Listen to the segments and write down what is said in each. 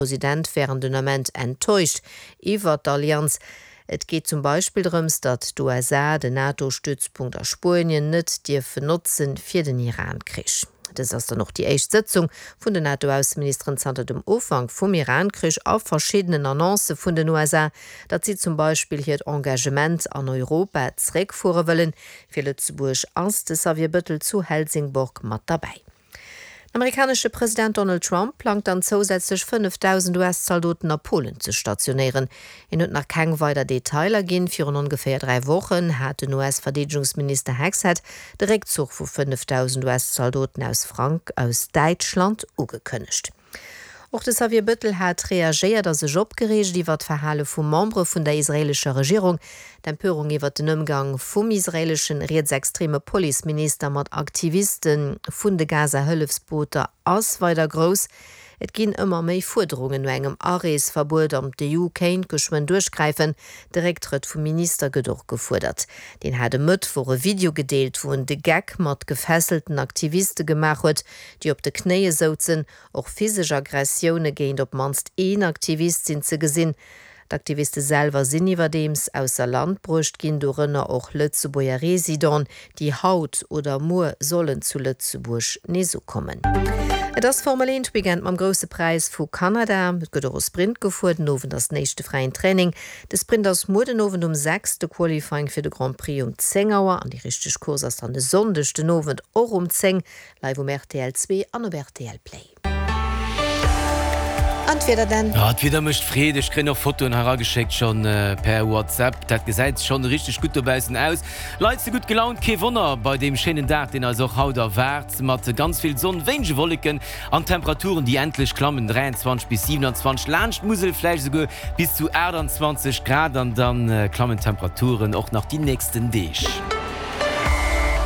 President wären den Ament enttäuscht iwwert d'Allianz. Et geet zum Beispill drëms, datt d'USA den NATO-Stützpunkt a Spuenien net dierfen notzen fir den Iran-Krich. Dëst ass dann och déi éischt Sëtzung vun den NATO-Ausseministeren zanter dem Ufank vum Iran-Krich a verschiddenen Annoncë vun den USA, datt si zum Beispill hiert Engagement an Europa zeréckfuere wëllen. Fir Lëtzebuerg ass de Xavier Bëttel zu Helsingborg mat derbäi. Den amerikanesche President Donald Trump plangt dann zousätzlech 5.000 US-Zaldoten a Polen ze stationéieren. Hien huet nach keng weider Detailer ginn. Virun ongeféier 3 Wochen hat den US-Verdeedegungsminister Hegseth de Réckzuch vu 5.000 US-Zaldoten aus Frank aus Däitschland ugekënnegt. Och de Xavier Bëttel hat reagéiert a sech opgereegt iwwer d'Verhale vu Membere vun der israeelescher Regierung. D'Empörung iwwer den Ëmgang vum israeeleschen rietsextreme Policeminister mat Aktiviste vun de Gaza-Hëllefsbooter ass weider grouss. Et ginn ëmmer méi Fuerderungen no engem Areesverbuet an d'EU kéint geschwënn duerchgräifen. De Récktrëtt vum Minister gëtt och gefuerdert. Deen hat e Mëttwoch e Video gedeelt, wou en de Geck mat gefesselten Aktiviste gemaach huet, déi op de Knéie souzen. Och physesch Aggressioune géint op d'mannst een Aktivist sinn ze gesinn. D'Aktiviste selwer sinn iwwerdeems ausser Land bruecht ginn, dorënner och Lëtzebuerger Residenten, déi haut oder muer sollen zu Lëtzebuerg nees ukommen. Et ass Formel 1 Weekend mam Grousse Präis vu Kanada. Et gëtt och e Sprint gefuer. Den Owend ass den éischte fräien Training. De Sprint ass muer den Owend um 6, de Qualifying fir de Grand Prix um 10 Auer an déi richteg Course ass dann e Sonndeg den Owend och um 10. Live um rtl 2 an op rtl Play. An d'Wieder dann? Ah, d'Wieder mécht Freed. Ech kréien och Fotoen hei erageschéckt schonn per WhatsApp. Dat gesäit schonn richteg gutt dobaussen aus. Leit si gutt gelaunt, kee Wonner bei deem schéinen Dag, deen eis och haut erwaart, mat ganz vill Sonn, wéinege Wolleken an Temperaturen, déi endlech klammen, 23 bis 27, laanscht d'Musel vläicht esouguer bis zu 28 Grad. An da klammen d'Temperaturen och nach déi nächsten Deeg.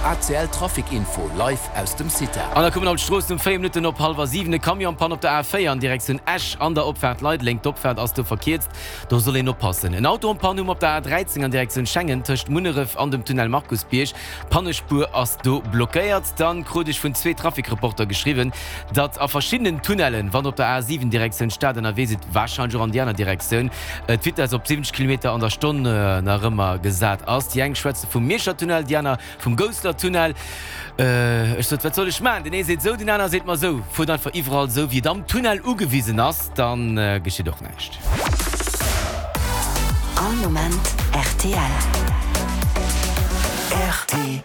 ACL Trafic Info live aus dem CITA. An da kommen haut d'Stroossen um 4 Minutten op hallwer 7. E Camion en panne op der A4 an Direktioun Esch an der Opfaart Leideleng. D'Opfaart ass do verkierzt, do soll een oppassen. En Auto en panne hu mer op der A13 an Direktioun Schengen tëscht Munneref an dem Tunnel Markusbierg. D'Pannespuer ass do blockéiert. Dann krut ech vun zwee Trafic-Reporter geschriwwen, datt a verschiddenen Tunnellen, wann der op der A7 Direktioun Stad ënnerwee sidd, warscheinlech och an déi aner Direktioun, d'Vitess op 70 Kilometer an der Stonn nach ëmmer gesat ass. Déi eng schwätze vum Mierscher Tunnel, déi aner vum Gousseler Tunnel. Ech sot, wat soll ech maachen? Deen ee seet esou, deen aner seet mer esou. Fuert einfach iwwerall esou, wéi et am Tunnel ugewisen ass, da geschitt och näischt. All Moment rtl. Rtl.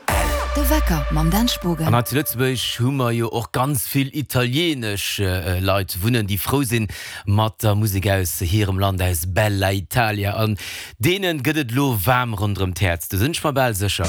De Wecker mam Dan Spogen. An hei zu Lëtzebuerg hu mer jo och ganz vill italieenesch Leit wunnen, déi frou sinn mat der Musek aus hirem Land, aus Bella Italia. An deene gëtt et elo waarm ronderëm d'Häerz, do sinn ech mer bal sécher.